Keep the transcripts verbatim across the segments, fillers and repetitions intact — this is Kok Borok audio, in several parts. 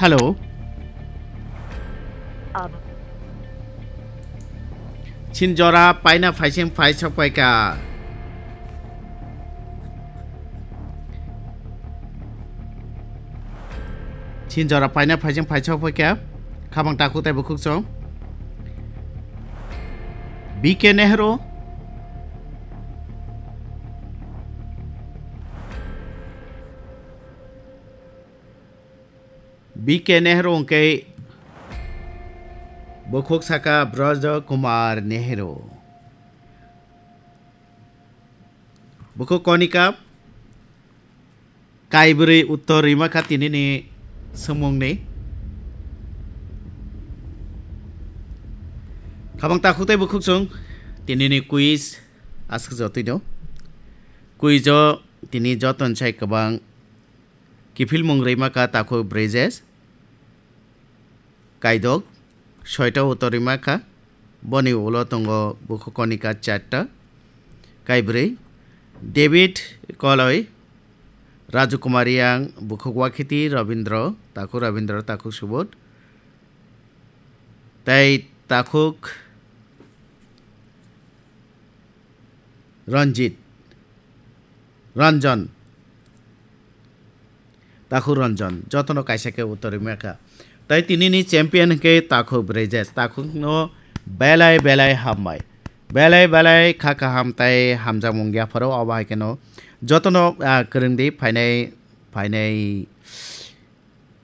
Hello. Chin jora paina phaising phai sokpaika. Chin jora paina phaising phai sokpaika. Khabang takhuk tei bukhuk song. B K Nehru. B K Nehru hwnkhe bukhuk saka Braj Kumar Nehru. Bukhuk konika kaibrwi uttor rwima kha tinini swngmungni. Khabang takhuk tei bukhuk chwng tinini quiz aswk jotwino. Quiz o tini joton sai kwbang kiphilmung rwima kha takhuk Brejes. Kaidok, soita uttor rwima kha. Boni ulo tongo bukhuk konika charta. Kaibrwi, David Koloi, Raju Kumar Yang, bukhuk Wakhiti, Rabindra, takhuk Rabindra, takhuk Subodh, tei takhuk Ranjit, Ranjan. Takhuk Ranjan, jotono kaisa khe uttor rwima kha. Tai tinini champion hwnkhe takhuk Brejes, takhukno belai belai hambai. Belai belai kha kaham tai hamjakmung yapharo, obo hai kheno jotono, ah, kwrwngdi phainai, phainai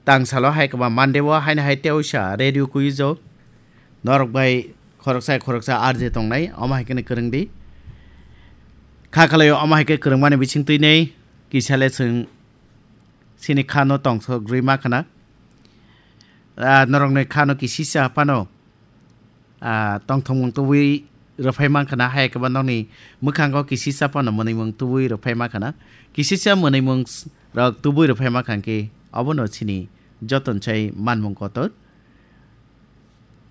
tangsalo hai kwbang Monday o haino hai teoisa radio quiz o norok bai khoroksa khoroksa R J tongnai, omo hai kheno kwrwngdi. Kha khalai omo hai khe kwrwngmani bising twi nei kisa le chwng chini kha no tongthok rwi ma khna. Ah, norokni kha no kisisa phano, ah, tongthokmung tubui rwphai man khna, hai kwbangma nokni mwkhango kisisa phano mwnwimung tubui rwphai ma khna. Kisisa mwnwimung s-, rok tubui rwphai ma kha khe obono chini joton sai manmung kotor.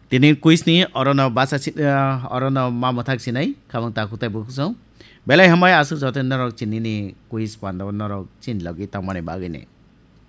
Tini quiz ni orono basa si-, ah, orono ma mwthak sinai, khabang takhuk tei bukhuk song. Belai hambai aswk joto norok chinini quiz pando norok chin logi tongmani bagwi ni.